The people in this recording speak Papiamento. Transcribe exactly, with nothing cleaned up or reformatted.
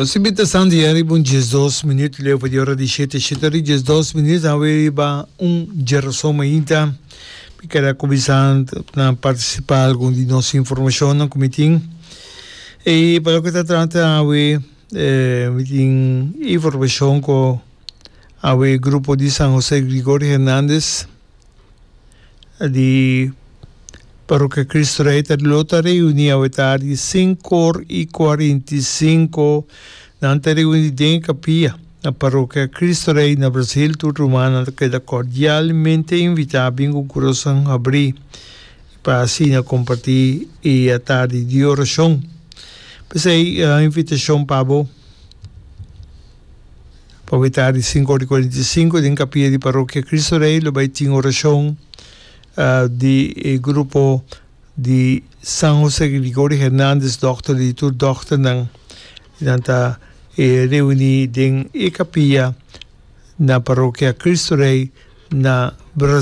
Nos invitacion di riba un diesdos minuut leu pa di ora di shete, shete ora y diesdos minuut awe riba un djerason mainta. Mi kere a cuminsa na participa algun di nos informacionnan cu mi tin. Y pa loke ta trata awe mi tin informacion cu awe grupo di San Jose Gregorio Hernandez di Parokia Cristo Rey ta lo ta reuni awe tardi sinku or i kuarenta i sinku. Nan ta reuni den e kapia na Parokia Cristo Rey na Brasil. Tur rumannan ta keda kordialmente invitá bin ku kurason habrí pa asina kompartí e atardi di orashon. P'esei invitashon pa bo pa awe tardi sinku or i kuarenta i sinku den kapia di Parokia Cristo Rey lo bai tin orashon di e grupo di San Jose Gregorio Hernandez, dokter di tur dokternan. Nan ta reuni den e capilla na Parokia Cristo Rey na Brasil.